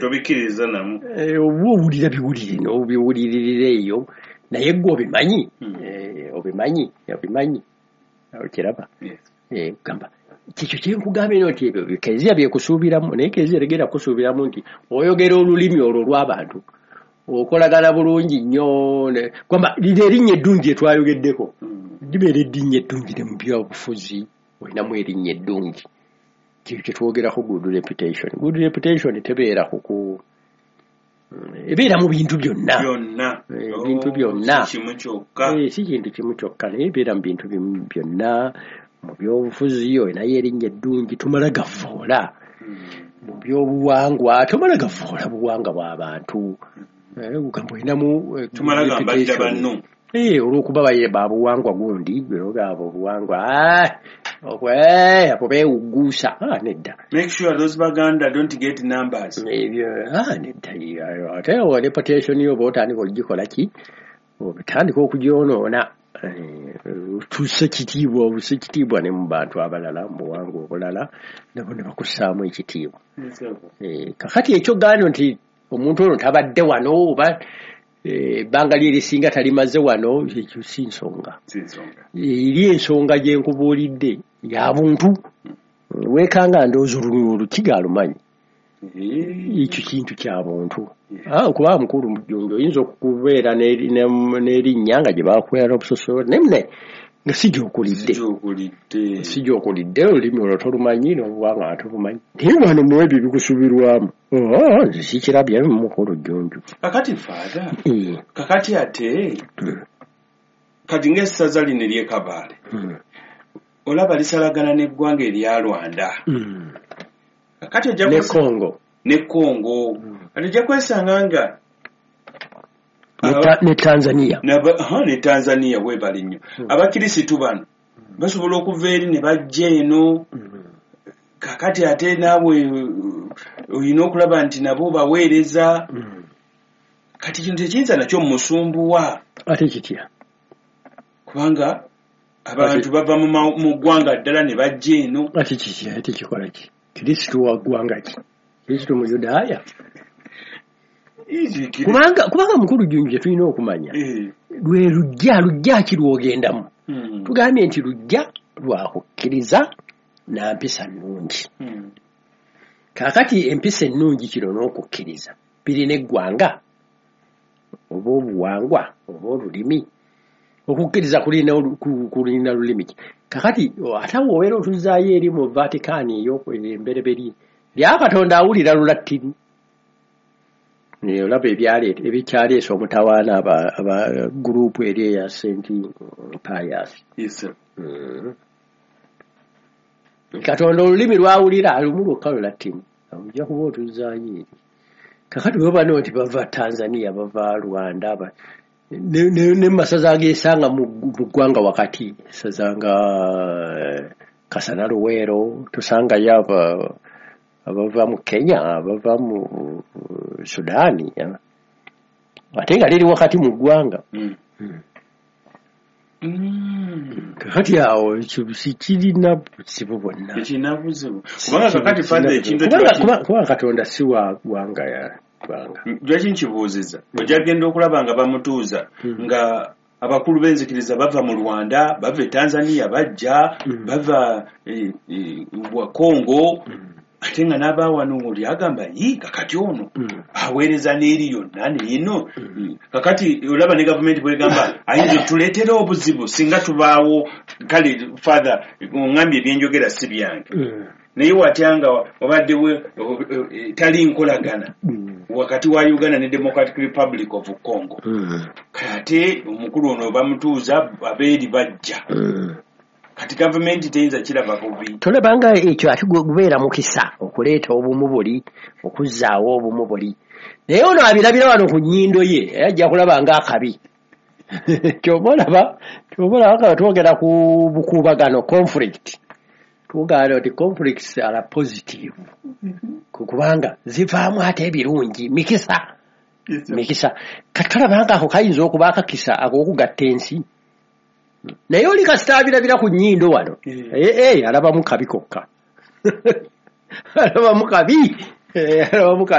Tobikkiririza namu. Oba owulira biwulire n'obiwuliririra eyo, naye gwe obimanyi. Obimanyi, okiraba? Gamba kikyo kyenkugambye nti ebyo kereziya byekusuubiramu, naye kereziya tegenda kusuubiramu nti oyogera olulimi olwo olw'abantu, okolagana bulungi nnyo. Gamba lino erinnya eddungi etwayogeddeko, libeera erinnya eddungi ne mu byobufuzi olinamu erinnya eddungi. Kyo kyetwogerako good reputation. Good reputation tebeera kuku, ebeera mu bintu byonna. Ebintu byonna. Si kimu kyokka. Si kintu kimu kyokka, naye ebeera mu bintu byonna. Mu byobufuzi olinayo erinnya eddungi, tomala gavoola. Mu byobuwangwa tomala gavoola buwangwa bw'abantu. Ogamba olinamu Tumala gambadda banno. Olw'okuba babuwangwa gundi, abo obuwangwa abo beewugguusa. Nedda. Make sure those Baganda don't get numbers. Ebyo nedda. Ate reputation yo oba otandika ogikola ki, otandika okugyonoona. Otuuse kitiibwa, obuse ekitiibwa ne mu bantu abalala, mu buwangwa obulala nabo ne bakussaamu ekitiibwa. Kakati ekyo gano nti omuntu ono tabadde wano oba ebbanga lye erisinga talimaze wano, ekyo si nsonga. Si nsonga. Eri ensonga gye nkubuulidde ya buntu. Weekanga ndowooza olukiga alumanyi. Ekyo kintu kya buntu. Okuba mukulu Mujjunju oyinza okubeera n'erinnya nga gye bakuwera n'obusosolo, naye mune nga si gy'okulidde. Si gy'okulidde. Si gy'okulidde, olulimi olwo tolumanyi n'obuwangwa tolumanyi. Naye wano mu ebyo bikusuubirwamu. Nze sikirabye mukulu Jjunju. Kakati Father, kakati ate, kati ng'essaza lino ery'e Kabaale, olaba lisalagana n'eggwanga erya Rwanda. Kakati ojja Ne Congo. Ne Congo. Kati ojja kwesanga nga Ne Tanzania. Ne Tanzania weebale nnyo. Abakirisitu bano basobola okuva eri ne bajja eno. Kakati ate naawe olina okulaba nti nabo baweereza. Kati kino tekiyinza nakyo musumbuwa. Ate kitya? Kubanga abantu bava mu ggwanga ddala ne bajja eno. Ate kitya? Ate kikola ki? Kristo wa ggwanga ki? Kristo Muyudaaya? Kubanga mukulu Jjunju kye tulina okumanya, lwe lujja ki lw'ogendamu? Tugambye nti lujja lwa kukkiriza na mpisa nnungi. Kaakati empisa ennungi kino n'okukkiriza birina eggwanga oba obuwangwa oba olulimi. Okukkiriza kulina lulimi ki? Kaakati ate awo obeera otuzzaayo eri mu Vatican embereberye lya Katonda awulira Lulatini. Naye olaba ebikyaleese omutawaana aba gurupu eri eya Saint Pius. Katonda olulimi lwawulira lumu lwokka Lulatini. Ojja kuba otuzzaayo eri. Kakati bwe bano nti bava Tanzania, bava Rwanda, ne masaza ageesanga mu ggwanga wakati, ssaza nga Kasana Luweero, tusangayo abava mu Kenya, abava mu Sudaani, ate nga liri wakati mu ggwanga. Kakati awo ekyo sikirina buzibu bwonna. Tekirina buzibu. Kubanga kakati Father ekintu Kubanga Katonda si wa ggwanga ya ggwanga. Lwaki nkibuuzizza? Ojja kugenda okulaba nga bamutuuza nga abakulu b'enzikiriza bava mu Rwanda, bava e Tanzania bajja, bava wa Congo, ate nga n'abaawano oli agamba yi kakati ono aweereza n'eri yonna n'eno. Kakati olaba ne gavumenti bw'egamba ayinza otuleetera obuzibu singa tubaawo. Kale Father oŋŋambye ebyenjogera si byange. Naye watya nga wabaddewo tali nkolagana wakati wa Uganda ne Democratic Republic of Congo. Kati omukulu ono bamutuuza abeeri bajja. Kati gavumenti teyinza kiraba bubi. Tolabanga ekyo ate gubeera mukisa okuleeta obumu buli, okuzzaawo obumu buli. Naye ono abirabira wano ku nnyindo ye, era ajja kulaba ng'akabi. Ky'oba olaba nga twogera ku bukuubagano, conflict. Tugamba nti conflicts are positive. Kubanga zivaamu ate ebirungi, mikisa. Mikisa. Kati tolabanga ako kayinza okuba akakisa ak'okugatta ensi. Naye oli kasita abirabira ku nnyindo wano. Alabamu kabi kokka. Alabamu kabi. Alabamu kabi.